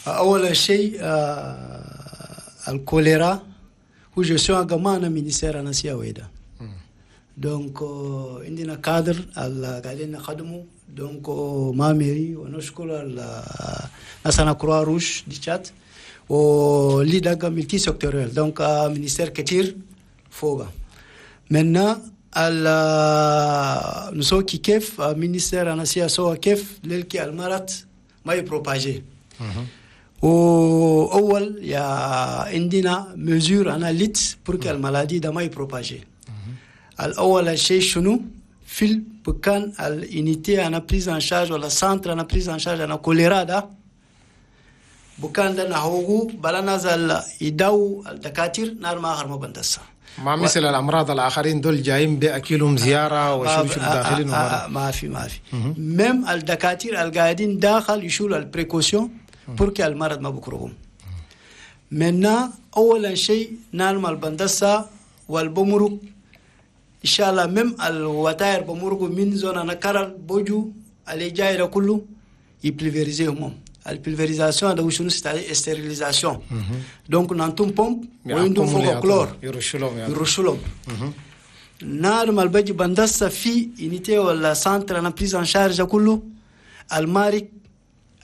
اول شيء الكوليرا هو gestion كمان ministère انا سيا ويدا. donc عندنا كادر اللي قاعدين نخدمه، donc مع mairie، ونشكر ناس Croix-Rouge du Tchad واللي ده multisectoriel، donc ministère كتير فوق. maintenant نسوي كيف ministère انا سيا سوا كيف للكي المرض ما ي propager. واول يا عندنا mesures انا ليت pour que ال maladie ده ما ي propager. الاول شيء شنو؟ في البكان ال unité انا prise en charge ولا centre انا prise en charge انا كوليرا ده، بكان ده نهوغو بلا نزل يداو الدكاتير نار ما اخر ما بندسا. ما مثل الامراض الاخرين دول جايين باكلهم زيارة وشو شو داخلين. ما في ما في، même الدكاتير القاعدين داخل يشيلوا ال précautions pour que المرض ما بكرههم. maintenant اولا شيء نالم البندسة والبمرق ان شاء الله، même الوتاير بمرقوا من zone انا كرل بوجو اللي جاي ده كله ي pulvériser هم. ال pulvérisation هذا شنو؟ c'est stérilisation. donc نانتم بومب وعندهم فوق كلور. يرشوا لهم يعني. يرشوا لهم. نار ما البجي بندسة في unité ولا centre انا prise en charge كله، المارك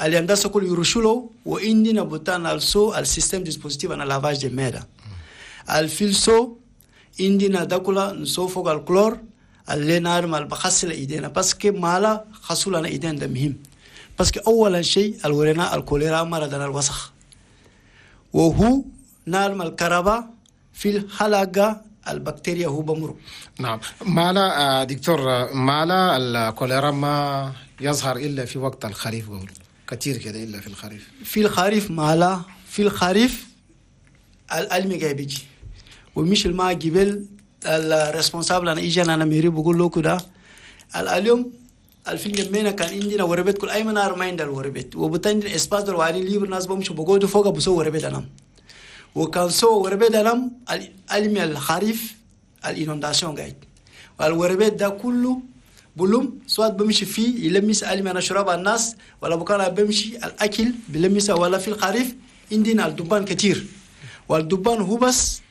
اللي هندسة كله يرشوا له. وعندنا بوتان السو ال système dispositif انا lavage de mains الفيلسو، عندنا داكولا نسو فوق الكلور اللي نار ما بخسل ايدينا، parce que مالا خسول انا ايدينا ده مهم، parce que اولا شيء الورينا الكوليرا مرضنا الوسخ، وهو نار ما الكهرباء في الحلقة البكتيريا هو بمرق. نعم، مالا دكتور، مالا الكوليرا ما يظهر الا في وقت الخريف؟ قول كثير كده الا في الخريف. في الخريف، مالا في الخريف الألمي جاي بيجي ومش الماء جبل. ال responsable انا ايجي انا mairie بقول له كده اليوم الفين جمينا كان عندنا وربت كل اي منار ما عندنا الوربت، وبتندي espace دول وعلي libre، ناس بمشوا بقعدوا فوق بسوا وربت انام، وكان سو وربت انام الالمي الخريف ال inondation قاعد، والوربت ده كله بلوم سواء بمشي فيه يلمس ألمي أنا شراب الناس ولا بكرة بمشي الأكل بلمس، ولا في الخريف عندنا الدبان كتير، والدبان هو بس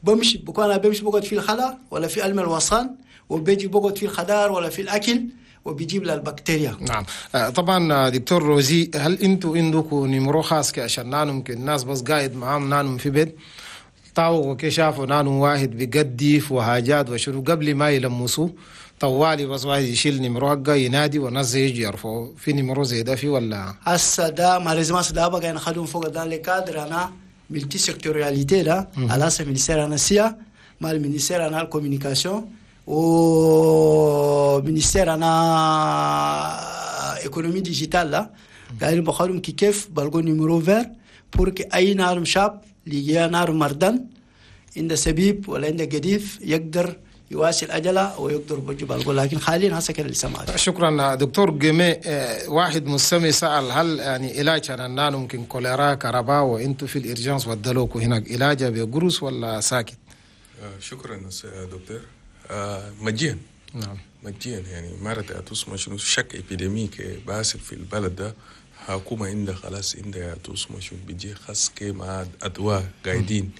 بمشي بكون بمشي بقعد في الخلا ولا في ألم الوصان، وبيجي بقعد في الخضار ولا في الأكل وبيجيب لها البكتيريا. نعم، طبعا دكتور روزي، هل انتوا عندكم numéro خاص عشان نانو ممكن الناس بس قاعد معاهم نانو في بيت طاو كي شافوا نانو واحد بيقدف وحاجات وشنو، قبل ما يلمسوه طوالي بس واحد يشيل numéro حقه ينادي والناس يجي يرفعوا؟ في numéro زي ده في ولا؟ هسه ده malheureusement ده بقى نخدم فوق dans le cadre انا multisectorialité ده على ministère انا سيا مع ال ministère انا ال communication و ministère انا économie digitale لا قاعدين بخدم كي كيف بلقوا numéro vert pour que اي نار شاب اللي نار مردان عند سبيب ولا عند قديف يقدر يواصل أجله ويقدر بجيب، لكن حاليا هسه كده لسه ما. شكرا دكتور جيمي. واحد مستمع سأل هل يعني علاج أنا نانو ممكن كوليرا كهرباء وانتو في ال urgence ودلوكوا هناك، علاجها بقروس ولا ساكت؟ شكرا دكتور. مجيا. مجيا، يعني مرة تسمى شنو chaque épidémie باسل في البلد ده، حكومة عندها خلاص عندها تسمى شنو بيجي خاص كي مع أدواء قاعدين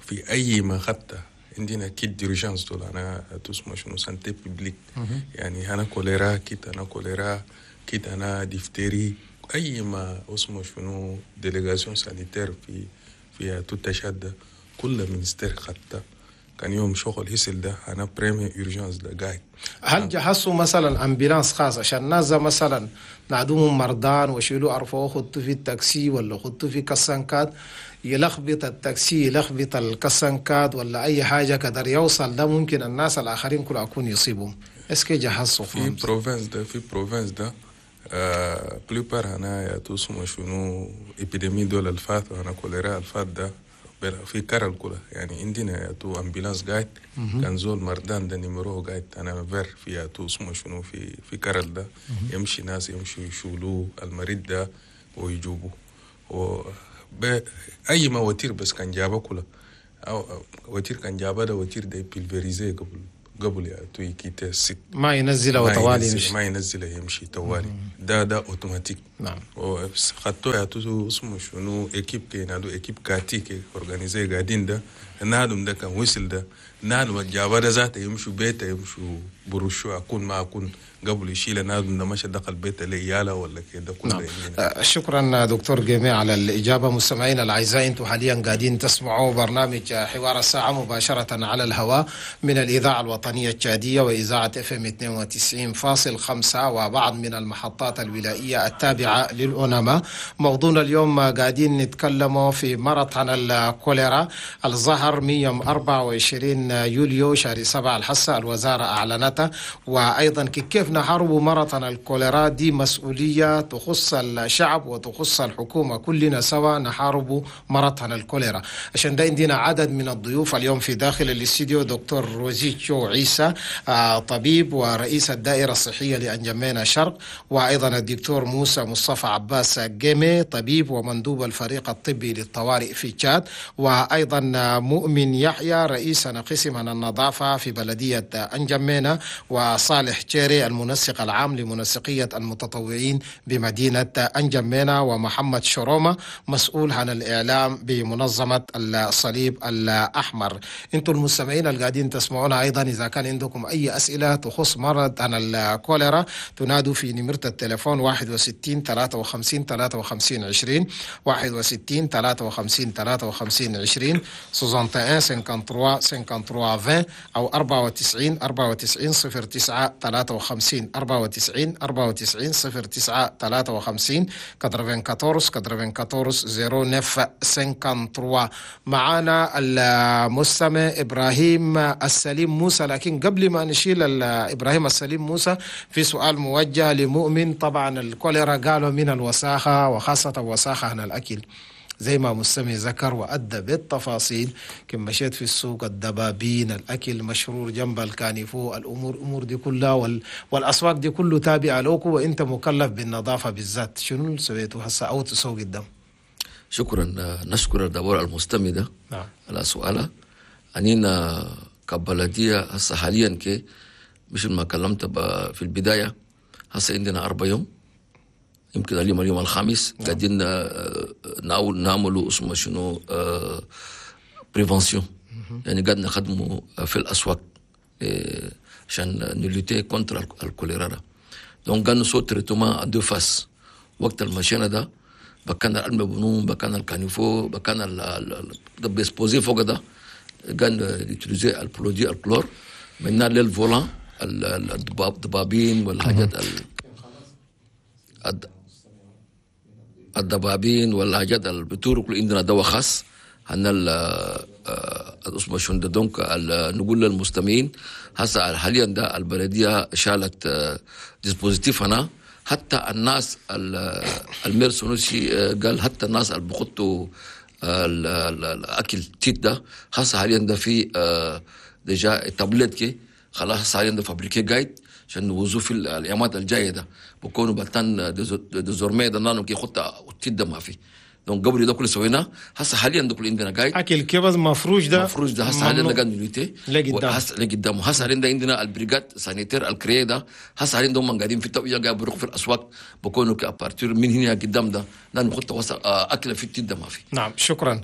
في أي ما خطة. عندنا kit d'urgence دول أنا تسمى شنو santé publique، يعني أنا كوليرا kit، أنا كوليرا kit، أنا diphtérie، أي ما اسمه شنو délégation sanitaire في تشاد كل ministère خطة كان يوم شغل هسل ده أنا première urgence ده قاعد. هل جهزوا مثلا ambulance خاص عشان الناس مثلا نعدوهم مرضان وشيلوا ارفعوه خطوا في التاكسي ولا خطوا في كسانكات، يلخبط التاكسي يلخبط الكسانكات ولا اي حاجة قدر يوصل ده ممكن الناس الاخرين كل اكون يصيبهم؟ est-ce que جهزوا؟ في province ده، في province ده plupart هنا اسمه شنو épidémie دول الفات وانا كوليرا الفات ده في كرل كلها، يعني عندنا تو ambulance قاعد، كان زول مردان ده numéro قاعد انا vert في تو اسمه شنو في كرل ده، يمشي ناس يمشوا يشولوه المريض ده ويجوبوه و اي ما voiture بس كان جابه كلها او voiture كان جابه ده voiture ده pulvérisé قبل. قبل يا يكيت ال site، ما ينزله طوالي يمشي، ما ينزله يمشي طوالي، ده اوتوماتيك. نعم. خطو يا تو اسمه شنو équipe كي نادو équipe كاتي كي organisée قاعدين ده نادم ده كان وصل ده نادم الجابة ده ذاته يمشوا بيته يمشوا برشوا اكون ما اكون قبل يشيل نادم ده مشى دخل بيته لياله ولا كده كله. نعم. شكرا دكتور جيمي على الإجابة. مستمعينا الأعزاء، انتم حاليا قاعدين تسمعوا برنامج حوار الساعة مباشرة على الهواء من الإذاعة الوطنية التشادية وإذاعة FM 92.5 وبعض من المحطات الولائية التابعة للأوناما. موضوعنا اليوم قاعدين نتكلم في مرض عن الكوليرا الظهر من يوم 24 يوليو شهر 7 الحصة الوزارة أعلنتها، وأيضا كيف نحارب مرض عن الكوليرا. دي مسؤولية تخص الشعب وتخص الحكومة، كلنا سوا نحارب مرض عن الكوليرا. عشان ده عندنا عدد من الضيوف اليوم في داخل الاستديو: دكتور روزيتشو عيسى طبيب ورئيس الدائرة الصحية لأنجمينا شرق، وأيضا الدكتور موسى مصطفى عباس جيمي طبيب ومندوب الفريق الطبي للطوارئ في تشاد، وأيضا مؤمن يحيى رئيس قسم النظافة في بلدية أنجمينا، وصالح تشيري المنسق العام لمنسقية المتطوعين بمدينة أنجمينا، ومحمد شرومة مسؤول عن الإعلام بمنظمة الصليب الأحمر. انتم المستمعين القاعدين تسمعونا أيضا إذا كان عندكم أي أسئلة تخص مرض عن الكوليرا تنادوا في نمرة التليفون 61 53 53 20، 61 53 53 20، 61 53 53 20 أو 94 94 09 53، 94 94 09 53، 94 94 09 53. معانا المستمع إبراهيم السليم موسى، لكن قبل ما نشيل إبراهيم السليم موسى في سؤال موجه لمؤمن. طبعا الكوليرا قالوا من الوساخة، وخاصة وساخة عن الأكل زي ما مستمع ذكر وأدى بالتفاصيل. كم مشيت في السوق الدبابين، الأكل مشرور جنب ال caniveau، الأمور دي كلها والأسواق دي كله تابعة لوكو، وأنت مكلف بالنظافة بالذات. شنو اللي سويته هسه أو تسوق قدام؟ شكرا، نشكر الدور المستمع ده. نعم. على سؤاله. أنينا كبلدية هسه حاليا كي مش ما كلمت في البداية، هسه عندنا 4 يوم، يمكن اليوم الخامس. نعم. قاعدين نعملوا اسمه شنو prévention، يعني قاعد نخدموا في الاسواق عشان ن lutter contre الكوليرا ده. donc قاعد نسوي traitement en deux phases. وقت المشينا ده بكان المبنون، بكان ال caniveau، بكان ال exposé فوق ده قاعد n'utiliser ال produit الكلور من لل volant الدبابين والحاجات الدبابين والحاجات البتور كل عندنا دواء خاص هن اسمه شنو ده. donc نقول للمستمعين هسه حاليا ده البلدية شالت dispositif هنا، حتى الناس ال maire سونوسي قال حتى الناس اللي بخطوا الاكل تيت ده هسه حاليا ده في déjà tablette كي خلاص هسه حاليا ده fabriqué قايد عشان نوزو في الايامات الجاية ده بكونوا بلتان désormais ده نانو كي خطه تيت ده ما في. donc قبل ده كله سويناه، هسه حاليا ده كله عندنا قايد اكل كبز مفروش ده مفروش ده هسه حاليا قاعد ن lutter لقدام، هسه لقدام. هسه حاليا عندنا ال brigade sanitaire ال créée ده هسه حاليا هم قاعدين في التوعية، قاعد بيروحوا في الاسواق بكونوا à partir من هنا قدام ده لانه خطه اكله في التيت ده ما في. نعم شكرا.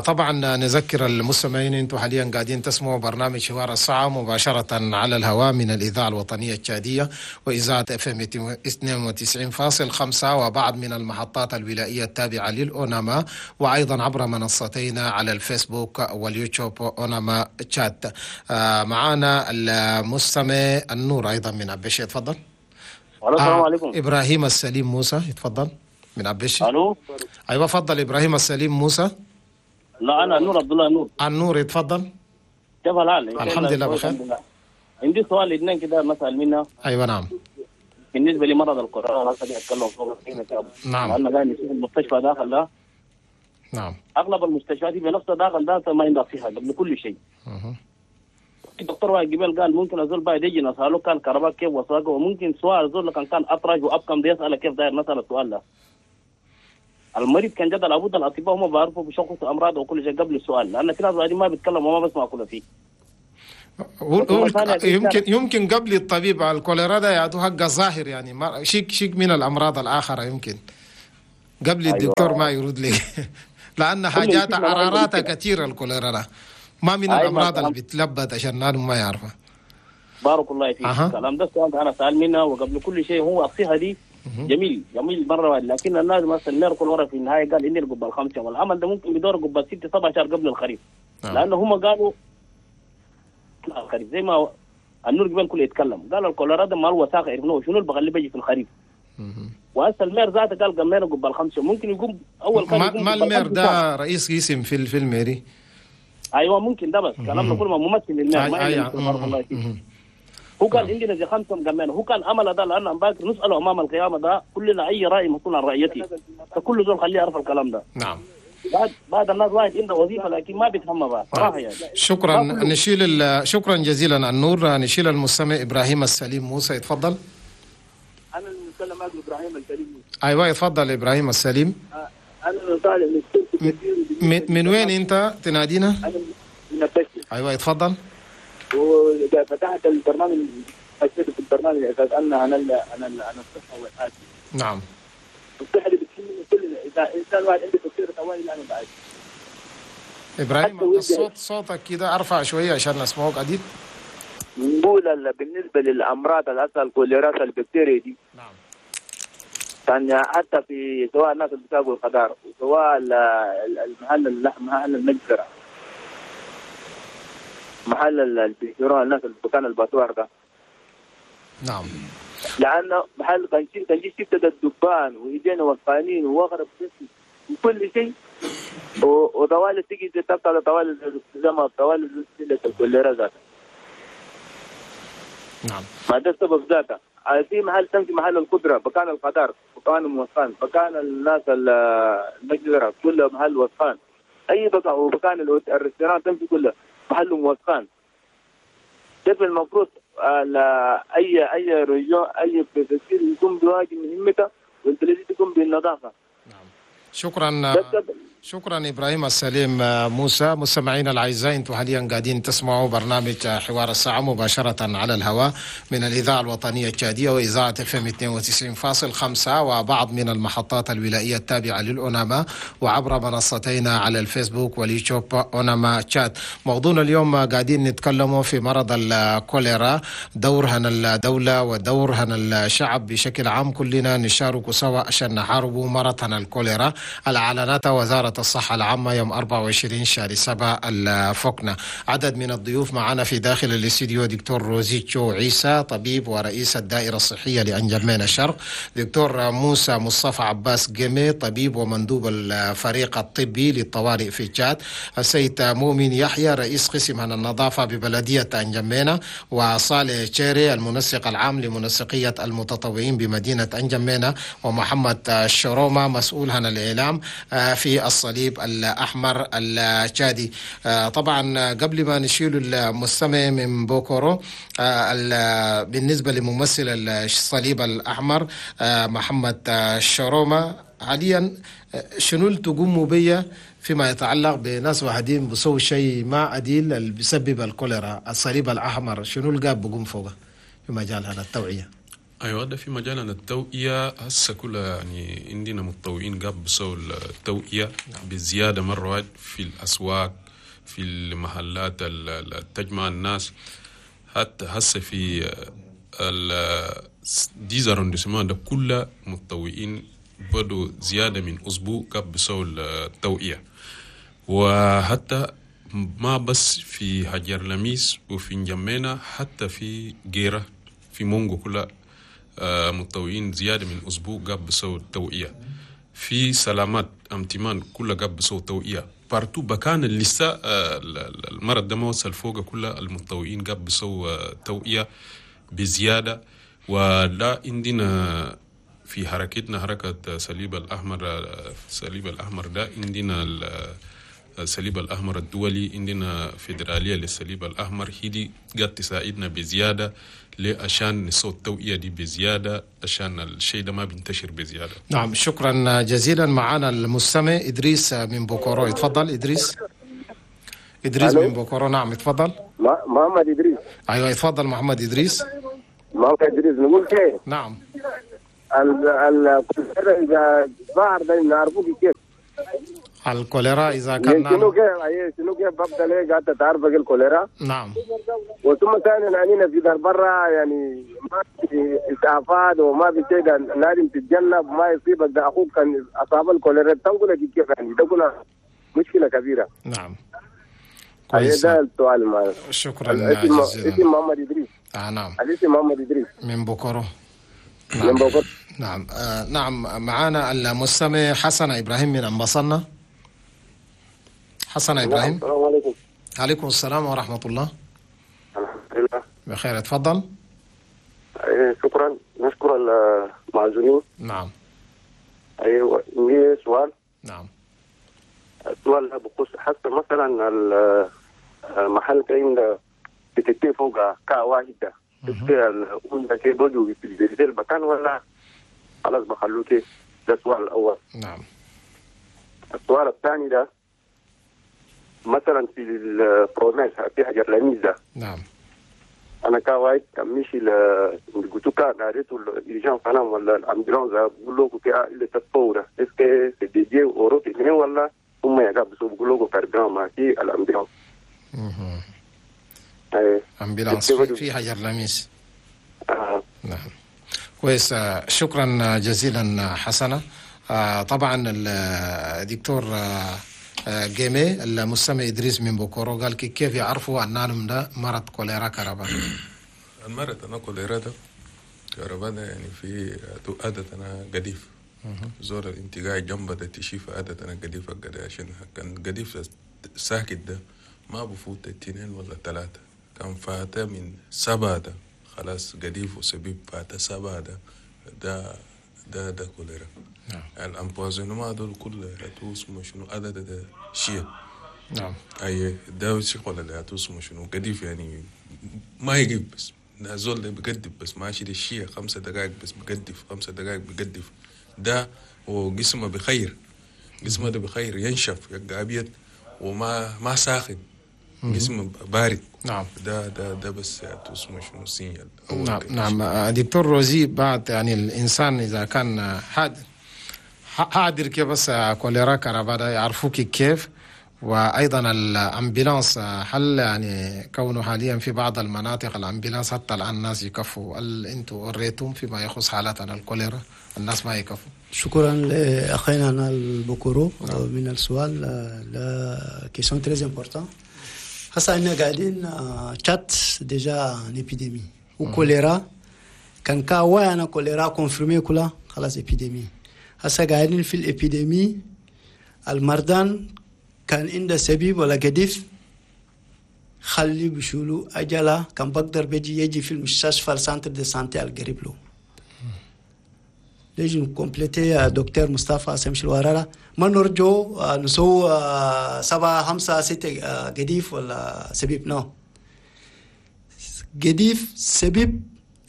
طبعا نذكر المستمعين انتم حاليا قاعدين تسمعوا برنامج حوار الساعة مباشرة على الهواء من الاذاعة الوطنية التشاديه واذاعة FM 92.5 وبعض من المحطات الولائيه التابعة للأوناما، وأيضا عبر منصتينا على الفيسبوك واليوتيوب أوناما تشات. معانا المستمع النور أيضا من عبشي، تفضل. السلام عليكم. إبراهيم السليم موسى، يتفضل من عبشي. ألو. أيوة تفضل إبراهيم السليم موسى. لا أنا نور عبد الله نور. النور يتفضل. كيف الحال؟ الحمد لله بخير. عندي سؤال اثنين كده مسأل منها. أيوة نعم. بالنسبة لمرض الكورونا هسه اتكلم فوق. نعم. انا قاعد نشوف المستشفى داخل ده. نعم. اغلب المستشفيات في نفسها داخل ده ما عندها صحة قبل كل شيء. الدكتور واحد قبل قال ممكن ازول بعد يجي نساله كان كهرباء كيف وصاقه، وممكن سؤال ازول كان اطرج وابكم ده يساله كيف داير نسال السؤال ده. المريض كان جد لابد الاطباء هم بيعرفوا بشخص امراض وكل شيء قبل السؤال، لان في ناس بعدين ما بيتكلم وما بسمع كل فيه. يمكن قبل الطبيب الكوليرا ده يعطوه حق ظاهر يعني شيك من الامراض الاخرى يمكن قبل الدكتور ما يرد لك لان حاجات عراراتها كثيرة الكوليرا ده ما من الامراض اللي بتلبت عشان ما يعرفها. بارك الله فيك. الكلام ده السؤال انا سأل منها وقبل كل شيء هو الصحة دي جميل جميل مرة، لكن الناس مثلا المير كل مرة في النهاية قال اني قبل 5 والعمل ده ممكن بدور قبل 6 7 شهر قبل الخريف. لانه هم قالوا الخريف زي ما النور قبل كله يتكلم قال الكوليرا ده ما الوساخه عرفناه شنو اللي بغلي بيجي في الخريف. وهسه ال maire ذاته قال قمينا قبل 5 ممكن يقوم اول كان يقوم ما ال maire ده رئيس قسم في ال mairie. ايوه ممكن ده بس كلامنا كله ما ممثل لل maire ما الله فيك. هو قال عندنا زي 5 مقمين هو كان امل ده لان باكر نساله امام القيامة ده كلنا اي راي مسؤول عن رأيتي فكل زول خليه يعرف الكلام ده. نعم. بعد الناس واحد عنده وظيفة لكن ما بيتهم بقى صراحة يعني. شكرا نشيل شكرا جزيلا النور. نشيل المستمع ابراهيم السليم موسى يتفضل. انا المتكلم معك ابراهيم السليم موسى. ايوه يتفضل ابراهيم السليم. انا طالع من من وين انت تنادينا؟ انا من البشر. ايوه يتفضل. وفتحت البرنامج حسيت في البرنامج اساس ان عن الصحة والعافية. نعم. الصحة اللي بتهمني كلنا، اذا انسان واحد عنده تفكير طوالي انا بعد. ابراهيم الصوت صوتك كده ارفع شوية عشان نسمعوك عديد. نقول بالنسبة للامراض الاصل الكوليرا البكتيريا دي. نعم. كان حتى في سواء الناس اللي بتاكل الخضار وسواء المحل اللحم محل المجزرة محل اللي بيشتروها الناس اللي كان الباتوار ده. نعم. لانه محل كان شفت الدبان وايدينا وسخانين وغرب وكل شيء وطوال تيجي تبقى طوال زي طوال الكوليرا ذاتها. نعم. ما ده السبب ذاته. في محل تمشي محل القدرة بكان الخضار بكان موسخان بكان الناس المجزرة كله محل وسخان اي بكان وبكان ال restaurant تمشي كله محل موسخان. كيف المفروض اي région اي préfecture يكون بواجب مهمته والبلديه تكون بالنظافة. نعم. شكرا شكرا ابراهيم السليم موسى. مستمعينا الاعزاء انتم حاليا قاعدين تسمعوا برنامج حوار الساعة مباشرة على الهواء من الاذاعة الوطنية التشاديه واذاعة FM 92.5 وبعض من المحطات الولائيه التابعة للأوناما وعبر منصتينا على الفيسبوك واليوتيوب اوناما تشاد. موضوعنا اليوم قاعدين نتكلموا في مرض الكوليرا، دورها الدولة ودورها الشعب بشكل عام، كلنا نشارك سوا عشان نحاربوا مرض الكوليرا. اعلنت وزارة الصحة العامة يوم 24 شهر 7 الفقنة. عدد من الضيوف معنا في داخل الاستديو دكتور روزيتشو عيسى طبيب ورئيس الدائرة الصحية لأنجمينا الشرق، دكتور موسى مصطفى عباس جيمي طبيب ومندوب الفريق الطبي للطوارئ في تشاد، السيد مؤمن يحيى رئيس قسم النظافة ببلدية أنجمينا، وصالح تشيري المنسق العام لمنسقية المتطوعين بمدينة أنجمينا، ومحمد شروما مسؤول عن الإعلام في الصليب الأحمر التشادي. طبعا قبل ما نشيل المستمع من بوكورو، بالنسبة لممثل الصليب الأحمر محمد شروما، حاليا شنو اللي تقوموا بيه فيما يتعلق بناس واحدين بسووا شيء ما عديل اللي بيسبب الكوليرا؟ الصليب الأحمر شنو اللي قاب بقوم فوقه في مجال هذا التوعية؟ ايوه ده في مجال التوعية هسه كلها يعني عندنا متطوعين قاب بسووا التوعية بزيادة مرة واحد في الأسواق، في المحلات اللي تجمع الناس، حتى هسه في dix arrondissements ده كلها متطوعين بدوا زيادة من أسبوع قاب بسووا التوعية. وحتى ما بس في حجر لميس وفي نجمينا، حتى في جيرة في مونغو كلها متطوعين زيادة من أسبوع قاب بسووا التوعية. في سلامات أمتمان كلها قاب بسووا التوعية partout بكان اللي لسه المرض ده ما وصل فوق كلها المتطوعين قاب بسووا توعية بزيادة. ولا عندنا في حركتنا حركة صليب الأحمر، صليب الأحمر ده عندنا الصليب الأحمر الدولي، عندنا فيدرالية للصليب الأحمر، هي دي قد تساعدنا بزيادة عشان نسوي التوعية دي بزيادة عشان الشيء ده ما بينتشر بزيادة. نعم شكرا جزيلا. معنا المستمع إدريس من بوكورو، اتفضل إدريس. إدريس من بوكورو، نعم اتفضل. محمد ادريس. ايوه اتفضل محمد ادريس. محمد ادريس نقول كيف؟ نعم. الكوليرا اذا ظهر ده نعرفه كيف؟ الكوليرا اذا كان شنو كيف شنو كيف ببدا ليه قاعد تعرف الكوليرا؟ نعم. وثم ثانيا عنينا في دار برا يعني ما في اسعافات وما في شيء، لازم تتجنب ما يصيبك ده اخوك كان اصاب الكوليرا تنقلك كيف يعني ده مشكلة كبيرة. نعم. كويس. ده السؤال معي. شكرا جزيلا. اسم محمد ادريس. نعم. الاسم محمد ادريس من بوكورو. نعم. من بوكورو. نعم. نعم معانا المستمع حسن ابراهيم من امبصنا. حسن ابراهيم. السلام عليكم. عليكم السلام ورحمة الله. الحمد لله بخير، اتفضل. شكرا، نشكر المعزومين. نعم. ايوه عندي سؤال. نعم. السؤال بخصوص حتى مثلا المحل كاين بتتي فوق كا واحدة الأم كي بدو في المكان ولا خلاص بخلوه كي؟ ده السؤال الاول. نعم. السؤال الثاني ده مثلا في ال province في حجر لميز ده. نعم. انا كواحد كان مشي لقلتو ناريتو l'urgence انا ولا ال ambulance بقول له كي اللي تطور est-ce que c'est dédié aux routes ولا هم يقابسوا بقول له carburant ما في ال ambulance. ambulance في حجر لميس. نعم كويس، شكرا جزيلا حسنة. طبعا الدكتور جيمي المستمع إدريس من بوكورو قال كيف يعرفوا أن ده مرض كوليرا كهرباء؟ المرض أنا كوليرا ده كهرباء ده يعني في عادة أنا قديف زور الانتقاء جنبه ده تشيف عادة أنا قديف قد عشان كان قديف ساكت ده ما بفوت 2 ولا 3، كان فاتة من 7 ده خلاص قديف وسبيب فاتة 7 ده ده ده ده كوليرا. نعم. ال empoisonnement دول كله اسمه شنو عدد ده شيء. نعم. اي ده شغل اللي اسمه شنو قديف يعني ما يجيب بس نازول ده بقدف بس ماشي ده الشيء 5 دقائق بس بقدف 5 دقائق بقدف ده وجسمه بخير، جسمه ده بخير ينشف يبقى ابيض وما ما ساخن، جسمه بارد. نعم. ده ده ده بس اسمه شنو signal. نعم. نعم دكتور روزي، بعد يعني الانسان اذا كان حاضر كيف بس كوليرا كهرباء يعرفوك كيف، وايضا ال ambulance هل يعني كونه حاليا في بعض المناطق ال ambulance حتى الان الناس يكفوا، هل انتم وريتم فيما يخص حالاتنا الكوليرا الناس ما يكفوا؟ شكرا لاخينا البوكورو. نعم. من السؤال la question très importante. هسا احنا قاعدين تشات déjà en épidémie وكوليرا كان كا انا كوليرا confirmée كلها خلاص épidémie. هسا قاعدين في ال épidémie المردان كان عنده سبيب ولا قديف خلي بشولو أجلا كان بقدر بيجي يجي في المستشفى ال centre de santé القريب له. ليش ن compléter دكتور مصطفى سمش الورارة ما نرجو نسو 7 5 6 قديف ولا سبيب. non قديف سبيب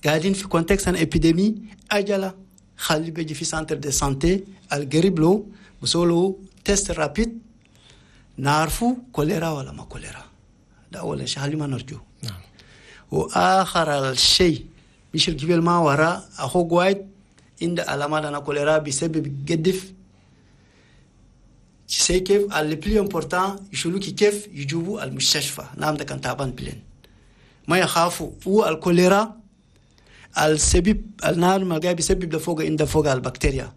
قاعدين في contexte en épidémie أجلا خلي بيجي في centre de santé القريب له بسولو test rapide نعرفوا كوليرا ولا ما كوليرا. ده أول شيء خلي ما نرجو. نعم. وآخر الشيء مش الجبل ما وراء أخوك وايد عند علامات أنا كوليرا بسبب قدف c'est كيف le plus important يشولوك كيف يجيبوا المستشفى. نعم ده كان تعبان بلين ما يخافوا هو الكوليرا السبب النار ما جاي بسبب لفوق عند فوق البكتيريا.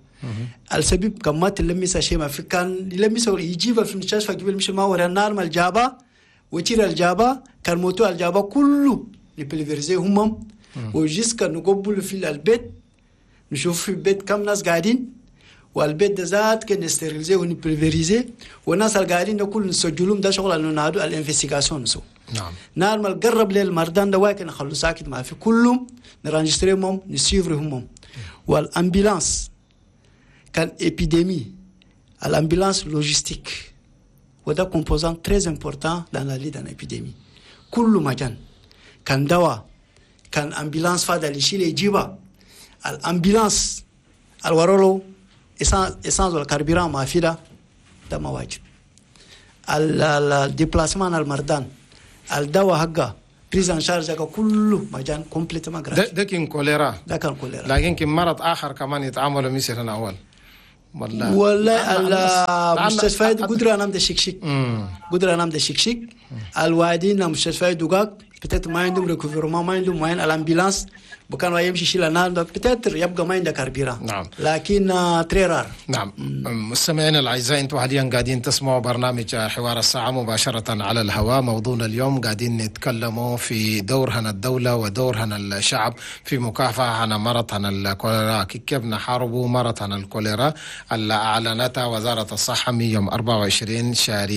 السبب كما تلمس شيء ما في كان يلمس يجيب في المستشفى قبل مش ما ورا النار ما الجابة وتير الجابة كان موتو الجابة كله ن pulvériser همم و jusqu'à نقبل في البيت نشوف في البيت كم ناس قاعدين والبيت ده ذات كان ن stériliser ون pulvériser والناس اللي قاعدين ده كله نسجلهم ده شغل انه نادو ال investigation نسو. نعم. نار ما قرب للمردان ده واكن نخلو ساكت ما في كلهم ن enregistrer هم ن suivre هم. وال ambulance كان épidémie ال ambulance logistique وده composant très important dans la lutte dans épidémie. كل مكان كان دواء كان ambulance فاضل يشيل يجيبها ال ambulance الورولو essence وال carburant ما في ده ما واجب. ال déplacement المردان الدواء حقه prise en charge كله مجان complètement gratuit. ده كان كوليرا. ده كان كوليرا. لكن كان مرض اخر كمان يتعاملوا مثل اول. والله المستشفيات قدرة نام ده شكشك. قدرة نام ده شكشك. الوادين المستشفيات دقاق peut-être ما عندهم recouvrement، ما عندهم moyen ال ambulance بكان يمشي شيل النار peut-être يبقى ما عنده carburant. نعم. لكن très rare. نعم. مستمعينا الاعزاء، انتم حاليا قاعدين تسمعوا برنامج حوار الساعة مباشرة على الهواء. موضوعنا اليوم قاعدين نتكلموا في دورهن الدولة ودورهن الشعب في مكافحة عن مرض عن الكوليرا، كيف نحاربوا مرض عن الكوليرا اللي اعلنتها وزارة الصحة من يوم 24 شهر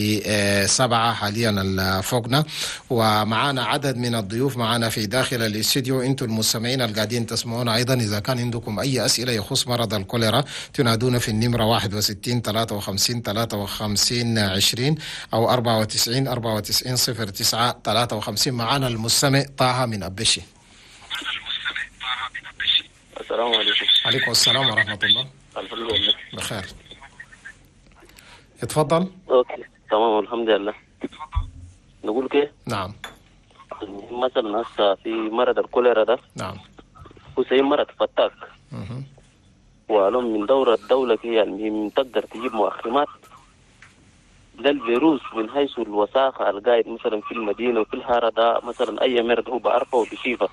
7 حاليا فوقنا. ومعانا عدد من الضيوف معنا في داخل الاستديو. انتم المستمعين القاعدين تسمعونا ايضا، اذا كان عندكم اي اسئلة يخص مرض الكوليرا تنادونا في النمرة 61 53 53 20 او 94 94 09 53. معنا المستمع طه من أبشي. السلام عليكم. عليكم السلام ورحمة الله. بخير، اتفضل. okay تمام الحمد لله. نقول كيف؟ نعم. مثلا هسه في مرض الكوليرا ده. نعم. هو زي مرض فتاك. وعلوم من دورة الدولة كي يعني تقدر تجيب مؤخمات للفيروس من حيث الوساخة القايد مثلا في المدينة وفي الهارة ده، مثلا أي مرض هو بعرفه وبشيفه.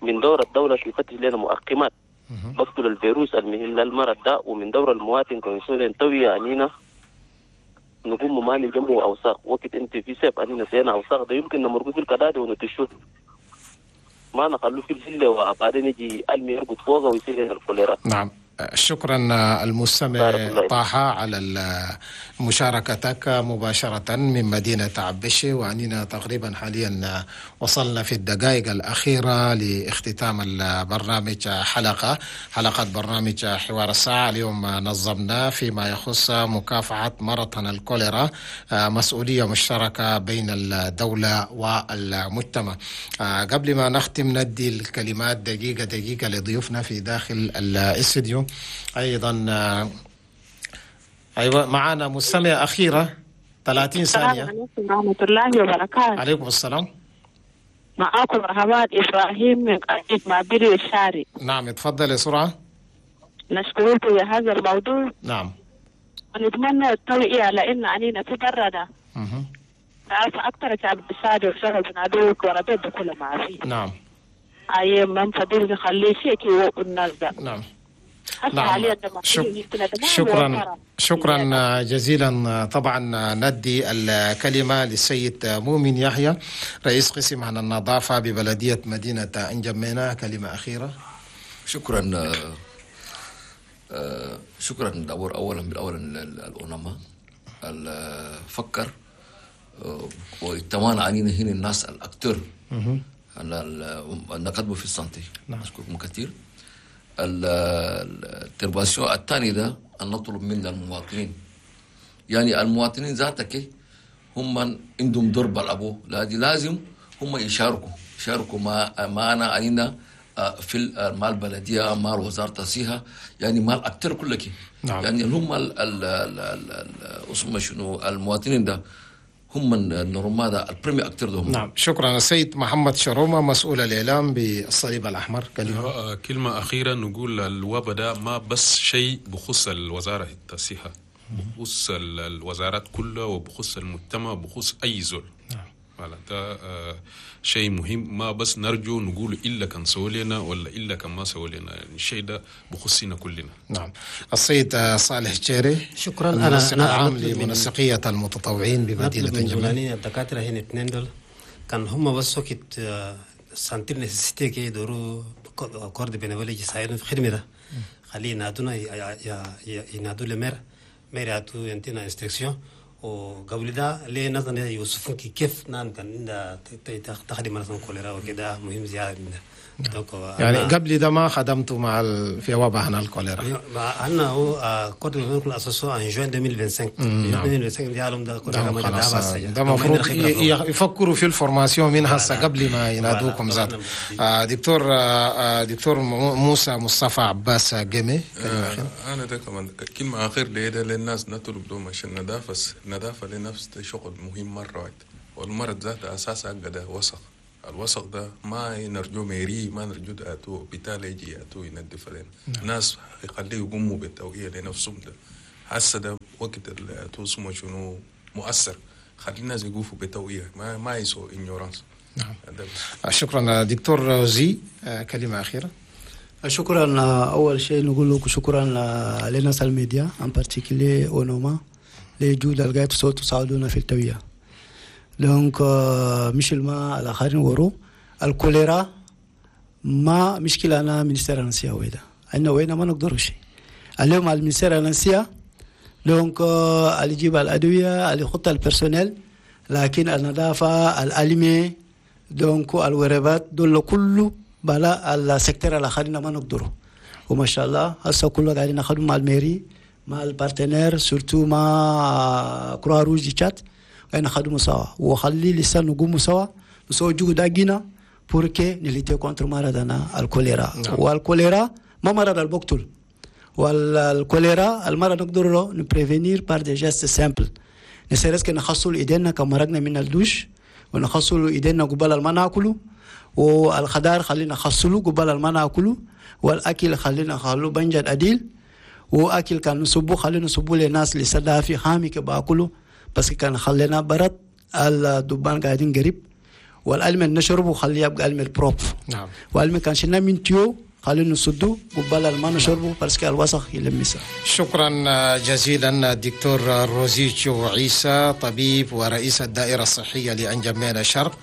من دورة الدولة يفتش لنا مؤقمات بقتل الفيروس المهم للمرض ده. ومن دور المواطن كونسون ينتوي عنينا نقوم ما نجمع أوساخ وقت أنت في سيف أنينا سينا أوساخ ده يمكن نمرقه في الكداد ونتشوه ما نخلوه في الهلة وبعدين يجي ألمي يرقد فوقه ويصير الكوليرا. نعم. شكرا المستمع طه على مشاركتك مباشرة من مدينة عبشي. وأننا تقريبا حاليا وصلنا في الدقائق الأخيرة لاختتام البرنامج، حلقة برنامج حوار الساعة. اليوم نظمنا فيما يخص مكافحة مرض الكوليرا، مسؤولية مشتركة بين الدولة والمجتمع. قبل ما نختم ندي الكلمات دقيقة دقيقة لضيوفنا في داخل الاستديو. أيضا أيوة معنا مستمع أخيرة 30 ثانية. السلام عليكم ورحمة الله وبركاته. عليكم السلام. معاكم رهبات إبراهيم من قرية معبري الشاري. نعم اتفضل بسرعة. نشكركم في هذا الموضوع. نعم. ونتمنى التوعية على إن علينا في برنا. عارفة أكثر شعب الشاري وشغل بنادوك وربيت بكل ما فيه. نعم. أي من فضل نخليه شيء كي الناس ده. نعم. نعم. شكرا شكرا جزيلا. طبعا ندي الكلمة للسيد مؤمن يحيى رئيس قسم عن النظافة ببلدية مدينة انجمينا، كلمة أخيرة. شكرا شكرا دور أولا بالأول الأونما فكر واجتمعنا علينا هنا الناس ال acteurs نقدموا في ال santé. نشكركم كثير. ال intervention الثاني ده أن نطلب من المواطنين، يعني المواطنين ذاتك هم عندهم دور بلعبوه، لازم هم يشاركوا معنا علينا في مع البلدية مع وزارة الصحة، يعني مع ال acteurs كلك. نعم. يعني هم اسمه شنو المواطنين ده هم ال normal ده ال premier acteur ده هم. نعم شكرا. السيد محمد شرومه مسؤول الاعلام بالصليب الاحمر، كلمة. كلمة اخيرة نقول الوباء ده ما بس شيء بخص الوزارة الصحة، بخص الوزارات كلها وبخص المجتمع بخص اي زول. نعم. ده شيء مهم، ما بس نرجو نقول إلا كان سووا لنا ولا إلا كان ما سووا لنا، يعني الشيء ده بخصنا كلنا. نعم. السيد صالح جيري، شكرا. المنسق العام لمنسقية المتطوعين بمدينة انجمينا. الدكاترة هنا اثنين دول كان هم بس وقت sentir nécessité كي يدوروا corps de bénévoles يساعدون في خدمة ده، خليه ينادونا ينادوا ل maire maire يعطوا ينتينا instruction. وقبل ده ليه نظرا يوصفون كيف نان كان تخدم مثلا كوليرا وكده مهم زيادة من ده. يعني قبل ده ما خدمتوا مع في وباء هنا الكوليرا؟ أنا هو corps de bénévoles associé en juin 2025. 2025 ديالهم ده كوليرا ما ده المفروض يفكروا في ال formation من هسه قبل ما ينادوكم ذات. دكتور موسى مصطفى عباس جيمي، أنا ده كمان كلمة أخير ليه ده للناس نطلب لهم عشان النظافة، النظافة لنفس ده شغل مهم مرة واحدة. والمرض ذاته اساسا ده وسخ. الوسخ ده ما نرجو mairie، ما نرجو اتو بالتالي يجي اتو ينظف لنا. ناس يخليه يقوموا بالتوعية لنفسهم. ده هسه ده وقت اسمه شنو مؤثر، خلي الناس يقوفوا بتوعية، ما يسووا ignorance. نعم، شكرا دكتور روزي. كلمة أخيرة. شكرا. أول شيء نقول لكم شكرا لناس الميديا، en particulier أونوما لجود القاعد صوت تساعدونا في التوعية. donc مش الماء الآخرين ورو الكوليرا ما مشكلة أنا ministère أنسيا ويدا عندنا وين ما نقدر شيء اليوم ال ministère أنسيا. donc اللي يجيب الأدوية، اللي يحط ال personnel، لكن النظافة، الألمي، donc الوربات دول كله بلا ال secteur الآخرين ما نقدروا. وما شاء الله هسه كله قاعدين ناخذ مع ال mairie، مع ال partenaires، surtout مع Croix-Rouge تشاد، قاعدين نخدموا سوا وخلي لسه نقوموا سوا نسوي جهد أجينا pour que ن lutter contre مرضنا الكوليرا. والكوليرا ما مرض البقتل، والكوليرا المرض نقدر ن prévenir par des gestes simples، ne serait-ce que نخصلوا ايدينا كمرقنا من الدوش، ونخصلوا ايدينا قبل ما ناكلوا، والخضار خلينا نخصلوا قبل ما ناكلوا، والاكل خلينا نخلو بنجد عديل، واكل كان نصبو خلينا نصبو للناس اللي سدا حامي كباكلوا، parce que كان خلينا برد الدبان قاعدين قريب. والألم نشربه خليه يبقى ألم propre. والم كان شلنا من tuyau خلينا نسدو قبل ما نشربه parce que الوسخ يلمسه. شكرا جزيلا دكتور روزيتشو عيسى، طبيب ورئيس الدائرة الصحية لأنجمينا الشرق.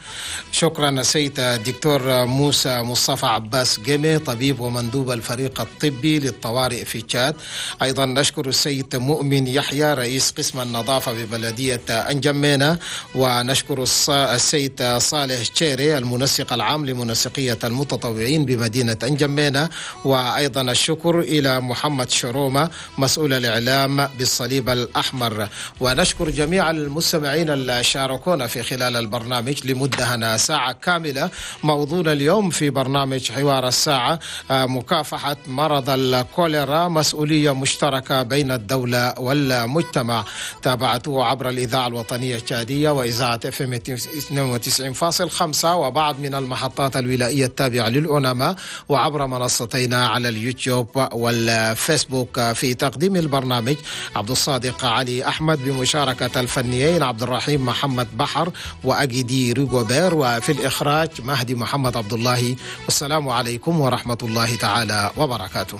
شكرا السيد دكتور موسى مصطفى عباس جيمي، طبيب ومندوب الفريق الطبي للطوارئ في تشاد. أيضا نشكر السيد مؤمن يحيى، رئيس قسم النظافة ببلدية أنجمينا. ونشكر السيد صالح تشيري، المنسق العام لمنسقية المتطوعين بمدينة أنجمينا. وأيضا الشكر إلى محمد شرومة، مسؤول الإعلام بالصليب الأحمر. ونشكر جميع المستمعين اللي شاركونا في خلال البرنامج لمدة هنا ساعة كاملة. موضوعنا اليوم في برنامج حوار الساعة: مكافحة مرض الكوليرا، مسؤولية مشتركة بين الدولة والمجتمع. تابعته عبر الإذاعة الوطنية التشادية وإذاعة FM 92.5 وبعض من المحطات الولائية التابعة للأوناما، وعبر منصتينا على اليوتيوب والفيسبوك. في تقديم البرنامج عبد الصادق علي أحمد، بمشاركة الفنيين عبد الرحيم محمد بحر وأجدي ريغوبير، وفي الإخراج مهدي محمد عبد الله. والسلام عليكم ورحمة الله تعالى وبركاته.